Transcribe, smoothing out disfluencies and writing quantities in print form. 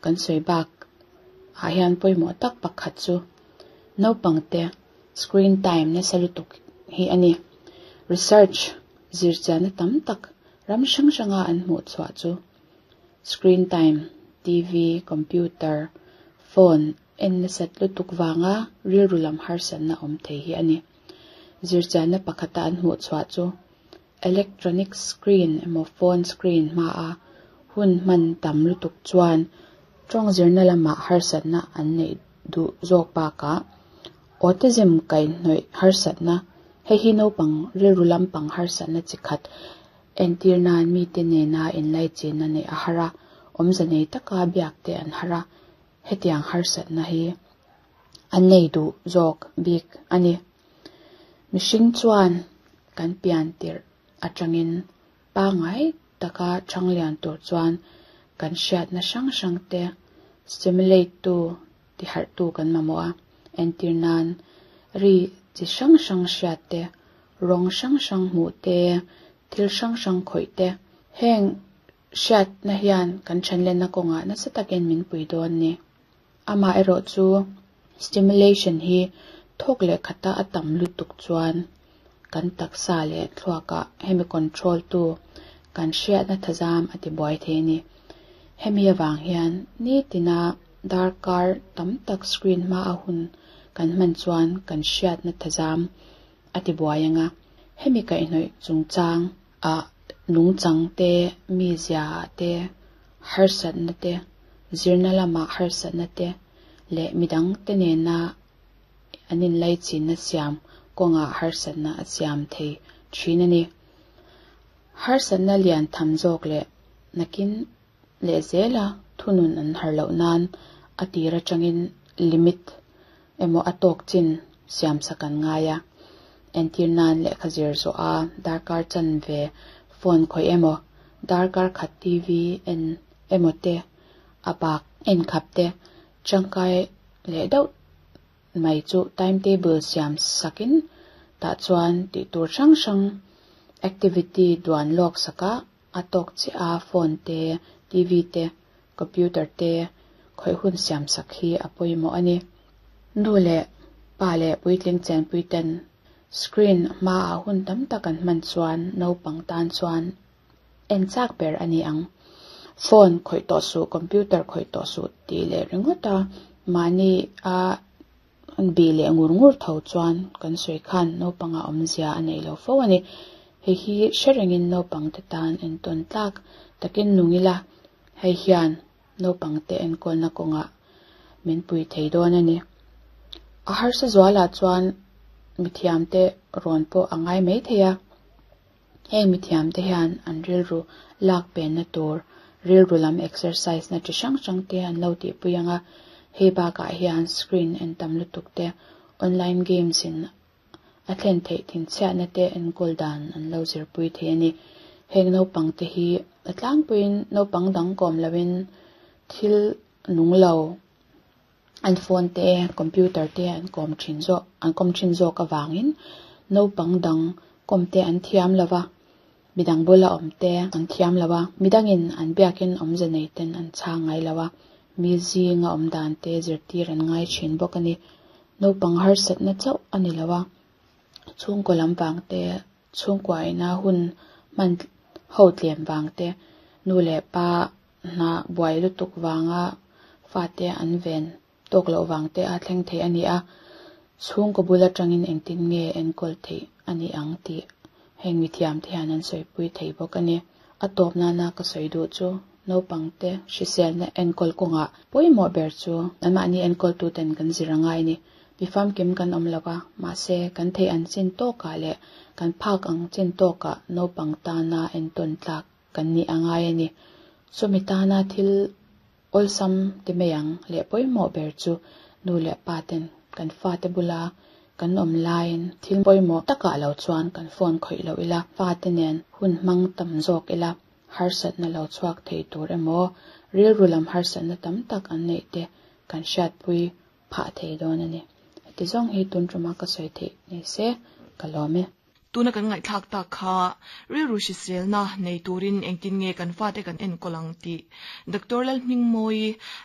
Kan sawi bak ah hian pawimawh tak pakhat chu naupangte screen time nasa lutuk hi a ni. Research zirchianna tam tak ram hrang hranga an hmuh chhuah chu screen time, TV, computer, phone en nasat lutuk vanga rilru lam harsatna awm thei hi a ni. Zirchianna pakhata an hmuh chhuah chu electronic screen emaw phone screen hmaa hun hman tam lutuk chuan tawng zirna lamah harsatna an neih duh zawk bakah autism kaihhnawih harsatna, hei hi naupang rilru lampang harsatna chi khat entir nan mite nena inlaichinna neih a har a, awmze nei taka biak te an har a, hetiang harsatna hi an nei duh zawk bik a ni. Mihring chuan kan pian tirh atangin pangngai taka thanglian tur chuan kan hriatna hrang hrang te stimulate tu tiharh tu kan mamawh a, entir nan ri chi hrang hrang hriat te, rawng hrang hrang hmuh te, thil hrang hrang khawih te, heng hriatna hian kan thanlenna kawngah nasa takin min pui dawn ni. Amaherawh chu stimulation hi thawk leh khata a tam lutuk chuan kan taksa leh thluakah hemi control tu kan hriatna thazam a ti buai thei a ni. Hemi avang hian nitina darkar tam tak screen hma a hun kan hman chuan kan hriatna thazam a ti buai anga hemi kaihhnawih chungchang ah nungchang te, mizia ah te, harsatna te, zirna lamah harsatna te leh midang te nena an inlaichinna siam kawngah harsatna a siam thei thin a ni. Harsatna lian tham zawk leh nakin leh zela thunun an har loh nan a tir atangin limit emaw a tawk chin siam sak an ngai a. Entir nan lehkha zir zawh a darkar chanve phone khawih emaw, darkar khat TV en emaw te, a bak en khap te tangkai leh deuh mai chu timetable siam sakin tah chuan tih tur hrang hrang activity duan lawk saka a tawk chiah a phone te, TV te, computer te khawih hun siam sak hi a pawimawh a ni. Nu leh pa leh puitling chenpui ten screen hmaah hun tam tak an hman chuan naupang tan chuan en chak ber a ni ang. Phone khawih tawh suh, computer khawih tawh suh tih leh ringawt a mahni a bih leh ngur ngur tho chuan kan sawi khan naupangah awmzia a neih lo fo a ni. Hei hi hre rengin naupangte tan entawn tlak takin nung ila hei hian naupangte enkawlna kawngah min pui thei dawn a ni. A harsa zualah chuan mithiamte rawn pawh a ngai mai thei a. Heng mithiamte hian an rilru lak penna tur rilru lam exercise na chi hrang hrang te an lo tihpui ang a, hei bakah hian screen en tam lutuk te, online games in a thlen theih thinchhiatna te enkawl dan an lo zirpui thei a ni. Heng naupang te hi a tlangpuiin naupang dang kawm loin thil nung lo an phone te, computer te an kawm thin zawk an kawm thin zawk avangin naupang dang kawm te an thiam lo va, midang bula awm te an thiam lo a, midangin an biakin awmze nei ten an chhang ngai lo a, mi zinga awm dan te zirtir an ngai thin bawk a ni. Naupang harsatna chauh a ni lo a, chhungkaw lam vang te, chhungkua ina hun hman ho tlem vang te, nu leh pa hna buai lutuk vanga fate an ven tawk loh vang te a thleng thei a ni a, chhungkaw bul atangin engtin nge enkawl theih a ni ang tih heng mithiam te hian an sawipui thei bawk a ni. A tawp nana ka sawi duh chu naupangte hriselna enkawl kawngah pawimawh ber chu anmahni enkawltuten kan zir a ngai a ni. Mi famkim kan awm lo a, mahse kan theih an chin tawkah leh kan phak ang chin tawkah naupang tana entawn tlak kan nih a ngai a ni. Chumi tana thil awlsam ti mai ang leh pawimawh ber chu nu leh pa ten kan fate bula kan awm laiin thil pawimawh takah lo chuan kan phone khawih loh ila, fate nen hun hmang tam zawk ila, harsatna lo chhuak thei tur emaw rilru lam harsatna tam tak an neih te kan hriatpui phah thei dawn a ni. Heti zawng hi tun tuma ka sawi theih ni se ka lawm e. Tuna kan ngaihthlak tak kha rilru hriselna nei turin engtin nge kan fate kan enkawl ang tih Doctor Lalhmingmawii.